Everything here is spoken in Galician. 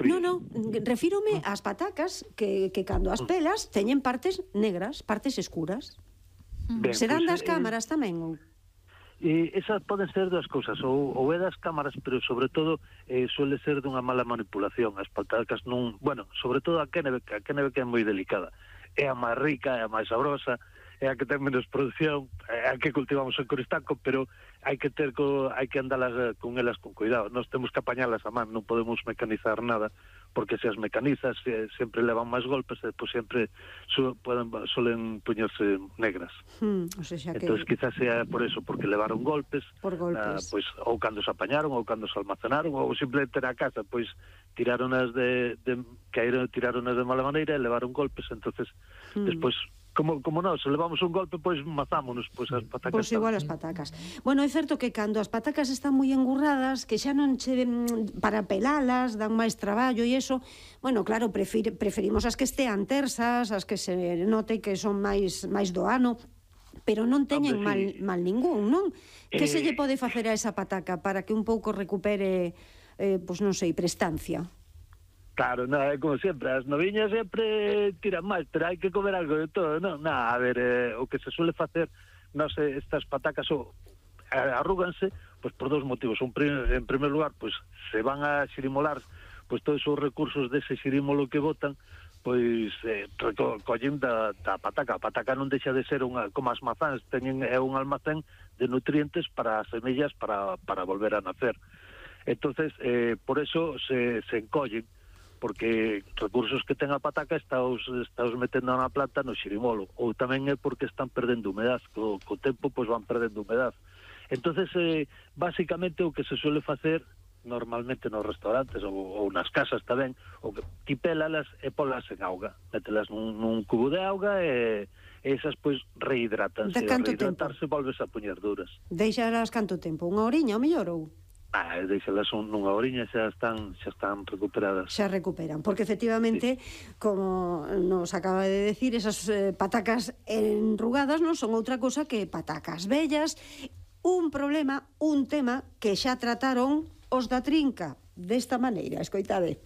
Non, refírome ás patacas que cando as pelas teñen partes negras, partes escuras. Serán das cámaras tamén? Esas poden ser das cousas, ou é das cámaras, pero sobre todo suele ser dunha mala manipulación. As patacas non, bueno, sobre todo a Kennebec que é moi delicada. É a máis rica, é a máis sabrosa, é a que ten menos produción, é a que cultivamos en Coristanco, pero hai que andalas con elas con cuidado. Nós temos que apañalas a man, non podemos mecanizar nada, porque se as mecanizas sempre levan máis golpes e depois sempre solen poñerse negras. Entón, quizás sea por eso, porque levaron golpes, pois, ou cando se apañaron, ou cando se almacenaron, ou simplemente na casa, pois tiraronas de mala maneira e levaron golpes, entonces despois como non, se levamos un golpe, pois mazámonos, pois as patacas. Pois igual as patacas. Bueno, é certo que cando as patacas están moi engurradas, que xa non che para pelalas, dan máis traballo e eso, bueno, claro, preferimos as que estean tersas, as que se note que son máis do ano, pero non teñen mal ningún, non? Que se lle pode facer a esa pataca para que un pouco recupere, pois non sei, prestancia? Claro, como sempre, as noviñas sempre tiran máis, pero hai que comer algo de todo, non? A ver, o que se suele facer, estas patacas arrúganse, pois por dos motivos. En primer lugar, pois se van a xirimolar, pois todos os recursos dese xirímolo que botan, pois recollen da pataca. A pataca non deixa de ser como as mazáns, é un almacén de nutrientes para as semillas para volver a nacer. Entonces, por eso se encollen, porque recursos que ten a pataca estáos metendo na planta no xirimolo, ou tamén é porque están perdendo humedad, co tempo pois van perdendo humedad. Entonces, basicamente o que se suele facer normalmente nos restaurantes ou nas casas tamén, o que ti pélalas e polas en auga, mételas nun cubo de auga e esas pois rehidratanse, rehidratarse volves a poñer duras. Deixalas canto tempo? Unha horiña ou mellor ou? Deixalas nunha horiña xa están recuperadas. Xa recuperan, porque efectivamente, como nos acaba de decir, esas patacas enrugadas non son outra cosa que patacas vellas. Un problema, un tema que xa trataron os da Trinca desta maneira, escoitade.